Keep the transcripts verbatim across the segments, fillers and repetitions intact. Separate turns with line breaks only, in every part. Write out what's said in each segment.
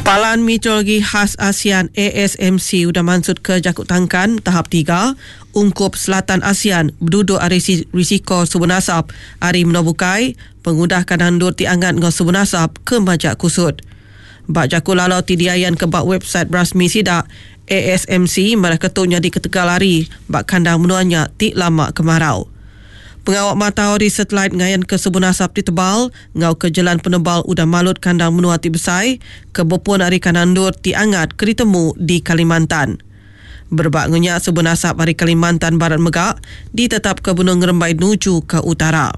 Palan Meteorologi Khas ASEAN A S M C udah mansut ke Jakut Tangkan tahap tiga ungkup Selatan ASEAN berduduk ari risiko sebun asap ari menua bukai pengudah kandang endur ti angat ngau sebun asap ke majak kusut. Bak jaku lalau ti diayan ke bak website rasmi sidak A S M C marah ketu nyadi ketegal hari bak kandang menuanya ti lama kemarau. Pengawak matau di satelit ngayan ke sebun asap ti tebal ngau ke jalan penebal udah malut kandang menua ti besai ke bepun ari kandang endur ti angat ke ditemu di Kalimantan. Berebak ngenyak sebun asap ari Kalimantan Barat mega ditetap ke benung ngerembai nuju ke utara.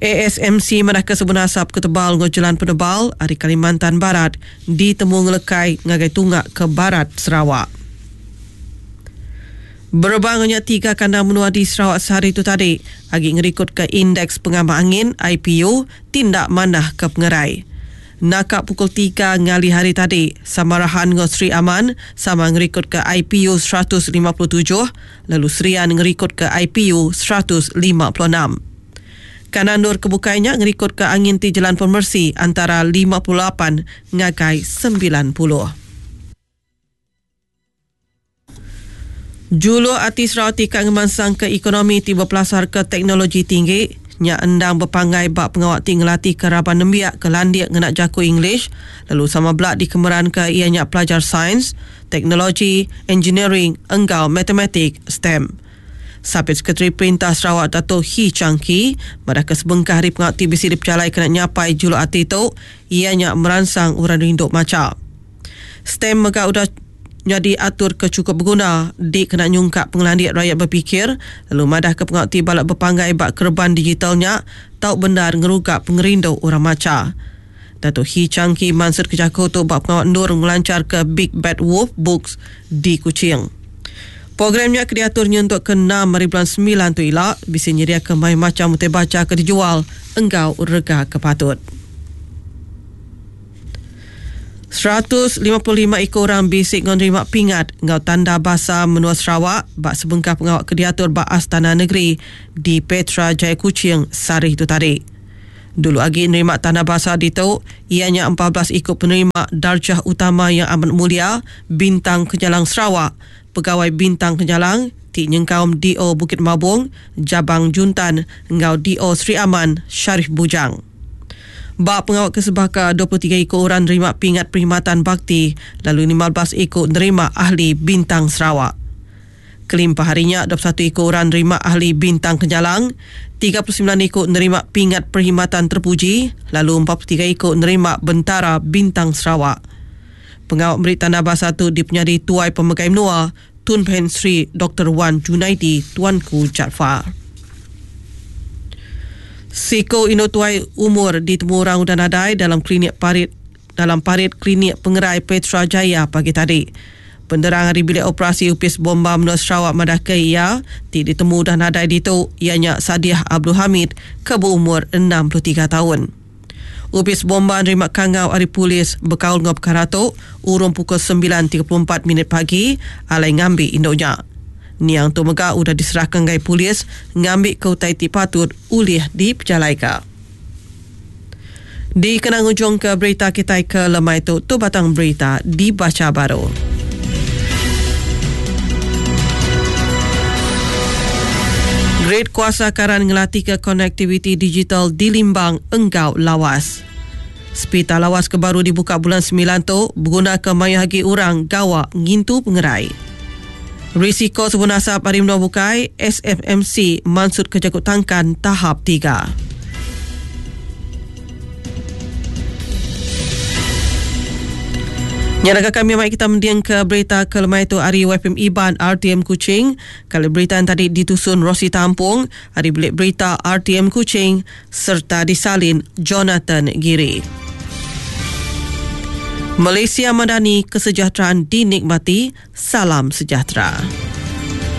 A S M C madah ke sebun asap ke tebal ngau jalan penebal ari Kalimantan Barat ditemu ngelekai ngagai tunggak ke barat Sarawak. Berebak ngenyak tiga kandang menua di Sarawak sehari itu tadi agi ngerikut ke indeks pengamak angin I P U tindak manah ke pengerai. Nakak pukul tiga ngali hari tadi, Samarahan ngau Sri Aman sama ngerikut ke I P U seratus lima puluh tujuh, lalu Serian ngerikut ke I P U seratus lima puluh enam. Kanan nur kebukainya ngerikut ke angin ti jalan pemersi antara lima puluh lapan ngagai sembilan puluh. Julu ati Sarawak tika ngemansang ke ekonomi ti berpelasar ke teknologi tinggi nya endang berpanggai bak pengawak ti ngelatih ke raban nembiak ke landik ngena jaku English lalu sama belak dikemeran ke ianya pelajar sains, teknologi, engineering enggau matematik STEM. Sapit Sekretari Perintah Sarawak Dato' Hii Chang Kee madah ke sebengkah hari pengawak ti bisi diperjalai kena nyapai julu ati tu ianya meransang orang rindu maca. STEM mega udah jadi atur ke cukup berguna di kena nyungkap pengelandik rakyat berfikir lalu madah ke pengawak ti balak berpanggai bak kerban digitalnya tau benar ngerugak pengerindu orang maca. Dato' Hii Chang Kee mansut ke jaku tu bak pengawak endur ngelancar ke Big Bad Wolf Books di Kuching. Programnya ke diaturnya untuk ke enam hari bulan sembilan tu ila bisa nyedia ke main macam utai baca ke dijual engkau rega ke patut. seratus lima puluh lima ekor orang bisik menerima pingat ngau tanda basa menua Sarawak bak sebengkah pengawak ke diatur bak Astana Negeri di Petra Jaya Kuching sehari itu tadi. Dulu agi nerima tanda basa ditu ianya empat belas ikut penerima darjah utama yang amat mulia Bintang Kenyalang Sarawak, Pegawai Bintang Kenyalang ti nyengkaum D O Bukit Mabung, Jabang Juntan ngau D O Sri Aman Sharif Bujang. Bak pengawak kesebaka dua puluh tiga ekor orang nerima pingat perkhidmatan bakti lalu lima belas ekor nerima ahli Bintang Sarawak. Kelimpah harinya dua puluh satu ekor orang nerima ahli Bintang Kenyalang, tiga puluh sembilan ekor nerima pingat perkhidmatan terpuji lalu empat puluh tiga ekor nerima Bentara Bintang Sarawak. Pengawak beri tanda basa tu dipenyadi Tuai Pemegai Menua Tun Pehin Sri Doktor Wan Junaidi Tuanku Jaafar. Siko Indo Tuai umur ditemu orang udah nadai dalam klinik parit dalam parit klinik pengerai Petra Jaya pagi tadi. Penderang hari bilik operasi Upis Bomba Menua Sarawak madah ke ia ti ditemu dah nadai ditu ianya Sadiah Abdul Hamid ke berumur enam puluh tiga tahun. Upis Bomba nerima kangau ari polis berkaul ngau perkara tu urung pukul sembilan tiga puluh empat minit pagi alai ngambi induknya. Niang tu mega udah diserahkan gai polis ngambi ke utai ti patut ulih dipejalaika. Di kenang ujung ke berita kita ke lemai tu, tu batang berita dibaca baru. Grid kuasa karan ngelatih ke konektiviti digital di Limbang Enggau Lawas. Sepita Lawas ke baru dibuka bulan sembilan tu berguna ke maya hagi orang gawa ngintu pengerai. Risiko sebun asap hari menua bukai S F M C mansut ke Jakut Tangkan tahap tiga. Nyaraga kami mai kita mendiang ke berita ke lemai tu hari W P M Iban R T M Kuching. Kalau berita yang tadi ditusun Rosi Tampung, hari belik berita R T M Kuching serta disalin Jonathan Giri. Malaysia Madani, kesejahteraan dinikmati. Salam sejahtera.